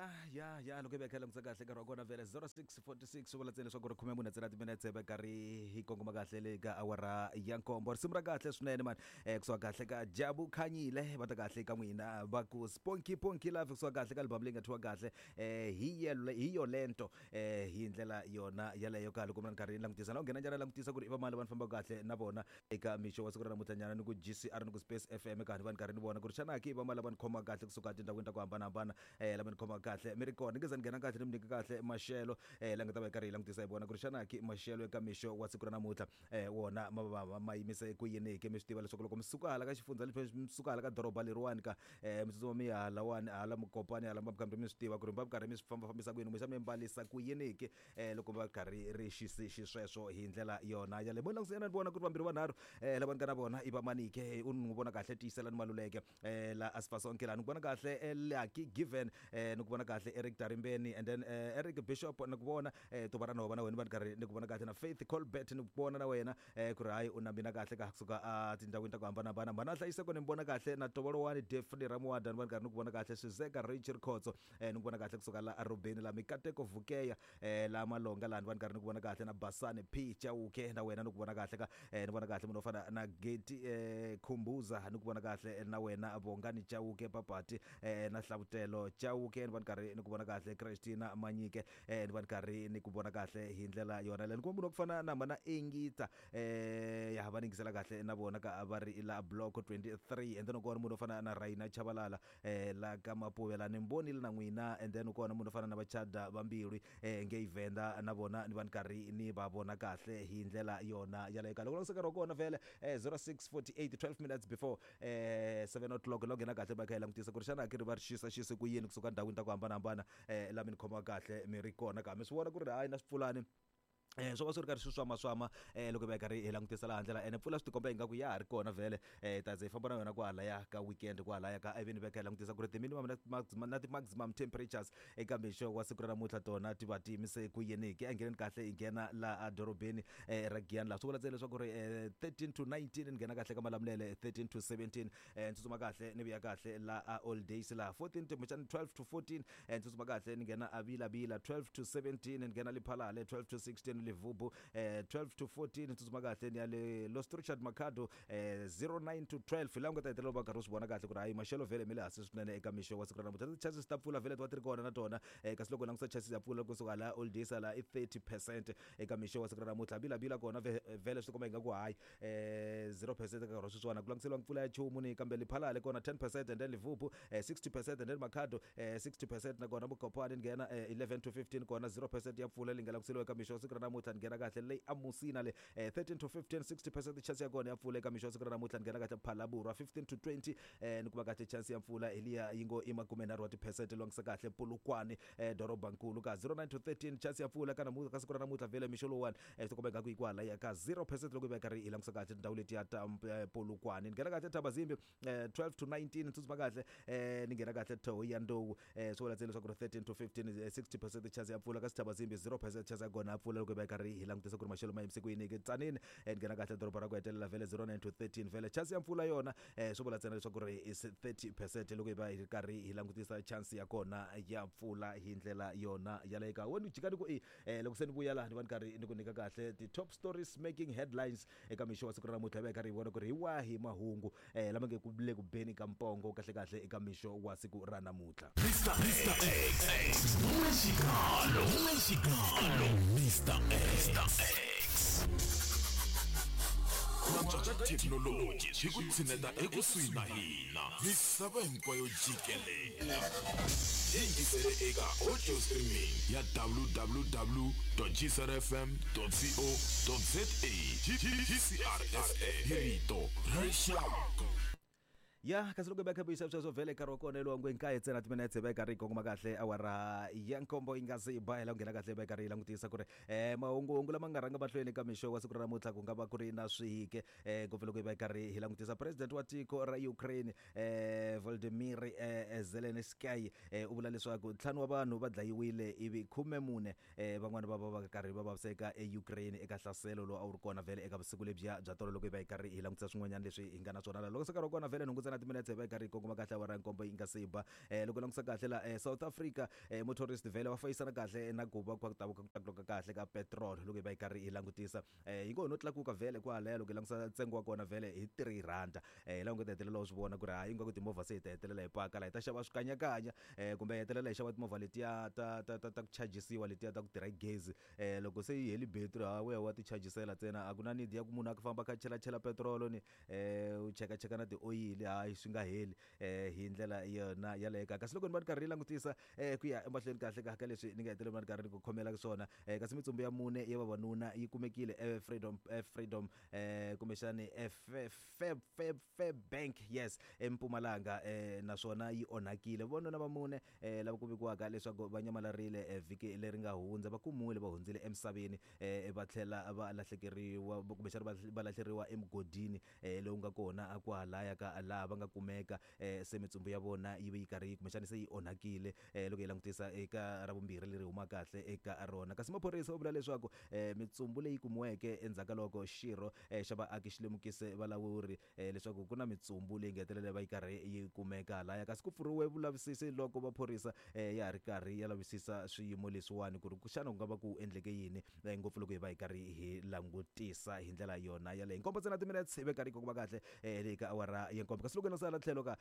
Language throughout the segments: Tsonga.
Ya ya ya, loko hi va hi kha hi langutisa kahle nkarhi wa kona vhele 06:46, swi vula ntsena leswaku ri 14 ntsena timinetse va karhi hi kongoma kahle le ka awara ya nkombo. Risimu ra kahle swinene mani, kusuka kahle ka Jabu Khanyile, va ta kahle ka n'wina va ku Sponky Ponky Love, kusuka kahle ka album leyi nga thyiwa kahle hi yelo hi yolento, hi ndlela yona yaleyo ka loko mina ni karhi ni langutisa na u nghena njhani langutisa ku ri i vamani lava ni fambaka kahle na vona eka mixo wa siku ra namuntlha nyana, ni ku GCR, ni ku Space FM ka ni va ni karhi ni vona ku ri xana ki va ma lava ni khoma kahle kusuka etindhawini ta ku hambanahambana, lava ni khoma kahle mi ri kona. Ni nge za ni nghena kahle ni mi nyika kahle maxelo, la nga ta va hi karhi hi langutisa hi vona ku ri xana ki maxelo eka mixo wa siku ra namuntlha, wona ma va ma yimise ku yini ke. Mi swi tiva leswaku loko mi suka hala ka xifundza lexi, mi suka hala ka doroba leriwani ka, mi tsutsuma mi ya halawani hala Mukopani hala mi mi swi tiva ku ri mi va mi karhi mi swi fambafambisa ku yini, kumbexana mi mbalisa ku yini ke, loko va karhi ri xisi xisweswo hi ndlela yona yaleyo. Mo langutisa ni vona ku ri vambirhi vanharhu, lava ni nga na vona i va manike u n'wi vona kahle Tiyiselani Maluleke, la Asifasonke la ni ku vona kahle, Lucky Given, ni ku vona kahle Eric Tarimbeni, and then Eric Bishop ni ku vona, Tuva ra Nhova na wena va ni karhi ni ku vona kahle, na Faith Colbert ni ku vona na wena, ku ri hayi u na mina kahle ka kusuka a tindhawini ta ku hambanahambana. Mhana Hlayiseko ni mi vona kahle, na Tovolowani Defni Ramuwada ni va ni karhi ni ku vona kahle, Swizeka Rachel Khotso, ni ku vona kahle kusuka la Arobeni la Mikateko Vukeya, la Malonga laha ni va ni karhi ni ku vona kahle, na Basani P Chauke na wena ni ku vona kahle ka, ni vona kahle munhu wo fana na Geti, Khumbuza ni ku vona kahle na wena, Bongani Chauke Papati, na Hlavutelo Chauke ni va ni karhi ni ku vona kahle, Christina Manyike, ni va ni karhi ni ku vona kahle hi ndlela yona leyo. Ni kuma munhu wa ku fana na mana Engita, ya va ni yingisela kahle na vona ka va ri la block 23, and then u kona munhu wo fana na Raina Chabalala, la ka Mapuve la ni mbonile na n'wina, and then u kona munhu wo fana na Vachada va Mbilwi, ngei Venda na vona ni va ni karhi ni va vona kahle hi ndlela yona yaleyo. Ka loko langutisa nkarhi wa kona vhele, 06:48, 12 minutes before 7 o'clock, la nghena kahle va kha hi langutisa ku ri xana ki ri va ri xisa xise ku yini kusuka ndhawini ta ku hambanahambana, la mi ni khomaka kahle mi ri kona ka mi swi vona ku ri hayi na swipfulani, swo va swi ri karhi swi swamaswama, loko hi va hi karhi hi langutisa laha ndlela ene mpfula swi tikomba ingaku ya ha ri kona vhele, ta ze hi famba na yona kwalaya ka weekend kwalaya ka, ivi ni veka hi langutisa ku ri ti-minimum na na ti-maximum temperatures eka mixo wa siku ra namuntlha tona ti va ti yimise ku yini ke. A ngheneni kahle hi nghena laha dorobeni, ra Giyani laha swi vula ntsena leswaku ri, 13 to 19, ni nghena kahle ka Malamulele 13 to 17, ni tsutsuma kahle ni vuya kahle laha Old Days laha 14 kumbexana 12 to 14, ni tsutsuma kahle ni nghena a Vilavila 12 to 17, ni nghena Lephalale 12 to 16, Livubu, 12 to 14, ni tsutsuma kahle ni ya le Lost Richard Makhado, 09 to 12, laha u nga ta hetelela u va karhi u swi vona kahle ku ri hayi maxelo vhele mi le hansi swinene eka mixo wa siku ra namuntlha. Ti-chances ta mpfula vhele ti va ti ri kona na tona, kasi loko u langutisa chances ya mpfula kusuka laha Old Days laha i 30% eka mixo wa siku ra namuntlha. Vilavila kona vhele swi tikomba ingaku hayi, 0% ka nkarhi wa sweswiwani, a ku langutiseriwa mpfula ya nchumu ni kambe Lephalale kona 10%, and then Livubu, 60%, and then Makhado, 60% na kona Mokopane ni nghena, 11 to 15 kona 0% ya mpfula leyi nga langutiseriwa eka mixo wa siku ra namuntlha. Ni nghena kahle leyi amusina le, 13 to 15, 60% chance ya kona ya mpfula eka mixo wa siku ra namuntlha. Ni nghena kahle Phalaborwa 15 to 20, ni kuma kahle chance ya mpfula hi liya yi ngo i 30 wa tiphesente. Langutisa kahle Polokwane, dorobankulu ka 09 to 13, chance ya mpfula ka namuntlha ka siku ra namuntlha vhele mixo lowuwani, swi tikomba ingaku yi kwalaya ka 0% loko yi va yi karhi hi langutisa kahle tindhawu letiya ta, Polokwane. Ni nghena kahle Thabazimbi, 12 to 19, ni tsutsuma kahle, ni nghena kahle Thohoyandou, swi vula ntsena leswaku ri 13 to 15, 60% chance ya mpfula, kasi Thabazimbi 0% chance ya kona ya mpfula loko yi va yi karhi hi langutisa ku ri maxelo ma yimise ku yini ke. Tzaneen, ni nghena kahle doroba ra ku hetelela vhele 09 to 13, vhele chance ya mpfula yona, swi vula ntsena leswaku ri is 30% loko hi va hi ri karhi hi langutisa chance ya kona ya mpfula hi ndlela yona yaleyo. Ka wena jika ni ku i, loko se ni vuya laha ni va ni karhi ni ku nyika kahle ti-top stories making headlines eka mixo wa siku ra namuntlha, hi va hi karhi hi vona ku ri hi wahi mahungu, lama nge ku le ku beni ka mpongo kahle kahle eka mixo wa siku ra namuntlha. Mr X, N'wexikalo, N'wexikalo, Mr X. Ku antswa ka thekinoloji swi ku tshineta ekusuhi na hina misava hinkwayo jikelele. Yingisele eka audio streaming ya www.gcrfm.co.za GCRFM hi rito ra rixaka. Ya kasi loko hi va kha vuyisa sweswo vhele nkarhi wa kona lowa ngwe nkaye ntsena timinetse va karhi yi kongoma kahle awara ya nkombo yi nga se yi ba, hi la ku nghena kahle va karhi yi langutisa ku ri, mahunguhungu lama nga rhanga mahlweni ka mixo wa siku ra namuntlha ku nga va ku ri na swihike, ngopfu loko hi va hi karhi hi langutisa president wa tiko ra Ukraine, Volodymyr, Zelensky, u vula leswaku ntlhanu wa vanhu va dlayiwile ivi 14, van'wana va va va karhi va vaviseka eUkraine eka nhlaselo lowu a wu ri kona vhele eka vusiku lebyiya bya tolo. Loko hi va hi karhi hi langutisa swin'wanyana leswi hi nga na swona laha loko se nkarhi wa kona vhele nhungu ntsena. ntsena timinetse hi va yi karhi yi kongoma kahle awara ya nkombo yi nga se ba. Loko langutisa kahle la South Africa motorist vhele va fayisana kahle na ku va ku ta ku tlakuka kahle ka petrol loko hi va yi karhi hi langutisa. Yi ngo no tlakuka vhele kwalaya loko hi langutisa ntsengo wa kona vhele hi 3 rand. Hi laha u nga ta hetelela u swi vona ku ri hayi ingaku timovha se hi ta hetelela hi paka laha hi ta xava swikanyakanya kumbe hi hetelela hi xava timovha letiya ta ta ta ta ku chajisiwa letiya ta ku tirha hi gezi. Loko se yi heli battery ha wehe wa ti chajisela ntsena a ku na need ya ku munhu a famba a kha a chelachela petirolo ni u chekacheka na tioyili hayi swi nga heli hi ndlela yona yaleyo ka. Kasi loko ni va ni karhi ni langutisa ku ya emahlweni kahle ka ka leswi ni nga hetelela ni karhi ni ku khomela swona kasi mitsumbu ya mune ya vavanuna yi kumekile eFreedom eFreedom kumbexani Fairbank yes eMpumalanga naswona yi onhakile. Vavanuna va mune lava ku vikiwaka leswaku va nyamalarile vhiki leri nga hundza va kumiwile va hundzile emisaveni va tlhela va lahlekeriwa kumbexana va lahleriwa emugodini lowu nga kona kwalaya ka laha va nga kumeka se mitsumbu ya vona yi ve yi karhi kumbexana se yi onhakile loko hi langutisa eka Ravumbirhi leri humaka kahle eka rona. Kasi maphorisa va vula leswaku mitsumbu leyi kumiweke endzhaku ka loko xirho xa vaaki xi lemukise valawuri leswaku ku na mitsumbu leyi nga hetelela va yi karhi yi kumeka laya. Kasi ku pfuriwe vulavisisi loko maphorisa ya ha ri karhi ya lavisisa swiyimo leswiwani ku ri xana ku nga va ku endleke yini ngopfu loko hi va hi karhi hi langutisa hi ndlela yona yaleyo. Nkombo ntsena timinetse hi ve karhi yi kongoma kahle leyi ka awara ya nkombo. Kasi loko hi langutisa hala tlhelo ka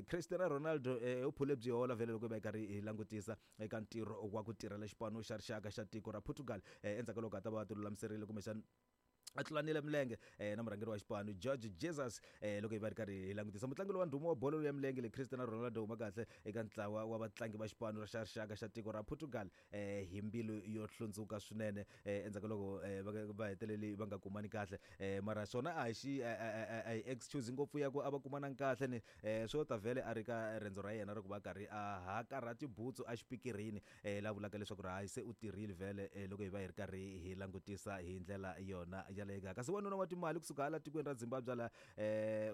Cristiano Ronaldo u phule byi hola vhele loko hi va hi karhi hi langutisa eka ntirho wa ku tirhela xipano xa rixaka xa tiko ra Portugal endzhaku ka loko a ta va a tilulamiserile kumbexana a tlulanile milenge na murhangeri wa xipano George Jesus. Loko hi va ri karhi hi langutisa mutlangi lowa ndhuma wa bolo ya milenge le Cristiano Ronaldo huma kahle eka ntlawa wa vatlangi va xipano xa rixaka xa tiko ra Portugal hi mbilu yo hlundzuka swinene endzhaku ka loko va heteleli va nga kumani kahle. Mara swona a hi xi a hi excuse ngopfu ya ku a va kumanangi kahle ni swo ta vhele a ri ka riendzo ra yena ra ku va karhi a hakarha tibutsu exipikirini la vulaka leswaku ri hayi se u tirhile vhele loko hi va hi ri karhi hi langutisa hi ndlela yona yaleyo. Kasi wanuna wa timali kusuka hala tikweni ra Zimbabwe la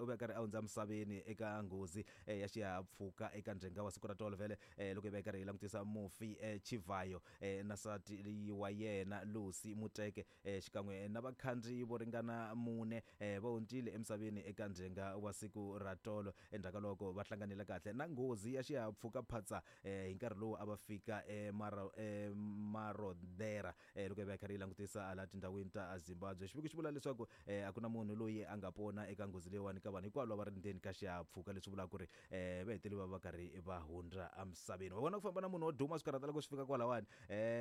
u ve karhi a hundza misaveni eka nghozi ya xihahampfhuka eka ndzhenga wa siku ra tolo vhele loko hi va hi karhi hi langutisa mufi Chivayo na nsati wa yena Lucy Muteke xikan'we na vakhandziyi vo ringana mune va hundzile emisaveni eka ndzhenga wa siku ra tolo endzhaku ka loko va hlanganile kahle na nghozi ya xihahampfhuka phatsa hi nkarhi lowu a va fika eMarodera loko hi va hi karhi hi langutisa hala tindhawini ta Zimbabwe. Xiviko xi vula leswaku a ku na munhu loyi a nga pona eka nghozi leyiwani ka vanhu hinkwavo lava ri ndzeni ka xihahampfhuka, leswi vulaka ku ri va hetelele va va karhi va hundza emisaveni. Wa vona ku famba na munhu wo duma swi karhata loko swi fika kwalawani,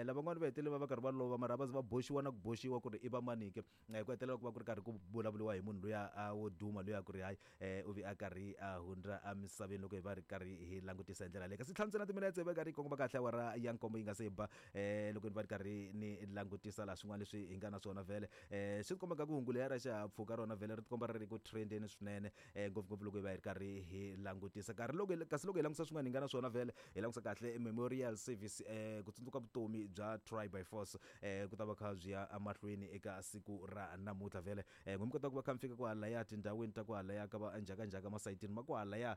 lavan'wana va hetelele va va karhi va lova mara va ze va boxiwa na ku boxiwa ku ri i va mani ke, ku hetelela ku va ku ri karhi ku vulavuriwa hi munhu luya a wo duma luya ku ri hayi u vi a karhi a hundza emisaveni loko hi va ri karhi hi langutisa hi ndlela leyi. Kasi ntlhanu ntsena timinetse hi va karhi yi kongoma kahle awara ya nkombo yi nga se ba loko ni va ri karhi ni langutisa laha swin'wana leswi hi nga na swona vhele swi tikomba nga ku hungu leya ra xihahampfhuka rona vhele ri tikomba ri ri ku trendeni swinene ngopfungopfu loko hi va hi ri karhi hi langutisa nkarhi loko kasi loko hi langutisa swin'wana hi nga na swona vhele hi langutisa kahle memorial service ku tsundzuka vutomi bya Try by Force ku ta va kha byi ya emahlweni eka siku ra namuntlha vhele n'wi mi kota ku va kha mi fika kwalaya tindhawini ta kwalaya ka va njhakanjhaka masayitini ma kwalaya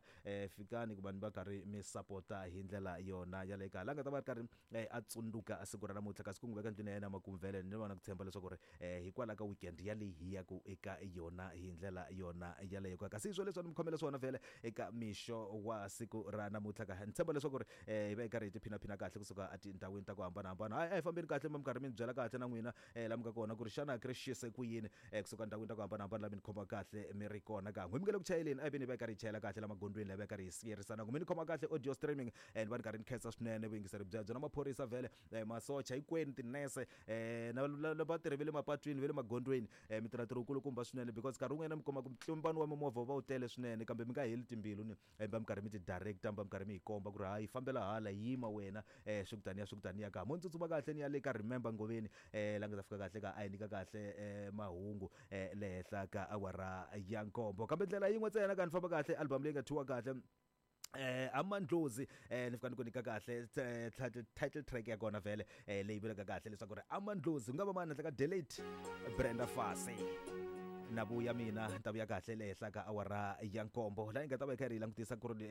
fikani ku vanhu va karhi mi sapota hi ndlela yona yaleyo ka la nga ta va ri karhi a tsundzuka siku ra namuntlha kasi ku n'wi veka ndlwini ya yena makumu vhele ni va na ku tshemba leswaku ri hikwalaho ka weekend yaleyi hi yaku eka yona hi ndlela yona yaleyo ka. Kasi swo leswi a ni mi khomele swona vhele eka mixo wa siku ra namuntlha ka ni tshemba leswaku ri hi va hi karhi hi tiphinaphina kahle kusuka etindhawini ta ku hambanahambana. Hayi a hi fambeni kahle mi karhi mi ni byela kahle na n'wina la mi nga kona ku ri xana ku ri xise ku yini kusuka ndhawini ta ku hambanahambana la mi ni khoma kahle mi ri kona ka n'wi mi nge le ku chayeleni a hi veni hi va hi karhi hi chayela kahle la magondzweni la hi va hi karhi hi siyerisana ku mi ni khoma kahle audio streaming ni va ni karhi ni khensa swinene vuyingiseri byebyo na maphorisa vhele masocha hinkwenu tinese na vatirhi va le mapatwini va le magondzweni mi tirha ntirho wukulukumba swinene because nkarhi wun'wanyana mi kuma ku ntlimbano wa mimovha wu va wu tele swinene kambe mi nga heli timbilu ni mi va mi karhi mi ti director mi va mi karhi mi hi komba ku ri hayi fambela hala yima wena swi ku taniya swi ku taniya ka mo ni tsutsuma kahle ni ya le ka Remember Ngoveni la nga ta fika kahle ka a hi nyika kahle mahungu le henhla ka awara ya nkombo kambe ndlela yin'we ntsena ka ni famba kahle album leyi nga thyiwa kahle Amandlozi ni fika ni ku nyika kahle title track ya kona vhele leyi vulaka kahle leswaku ri Amandlozi ku nga va mani handle ka Delete Brenda Fassie na vuya mina ni ta vuya kahle le henhla ka awara ya nkombo laha yi nga ta va yi karhi yi langutisa ku ri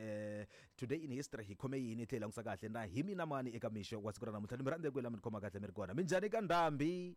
today in history hi khome yini hi tlhela hi langutisa kahle na hi mina mani eka mixo wa siku ra namuntlha ni mi rhandza hinkwenu la mi ni khoma kahle mi ri kona minjhani ka ndhambi.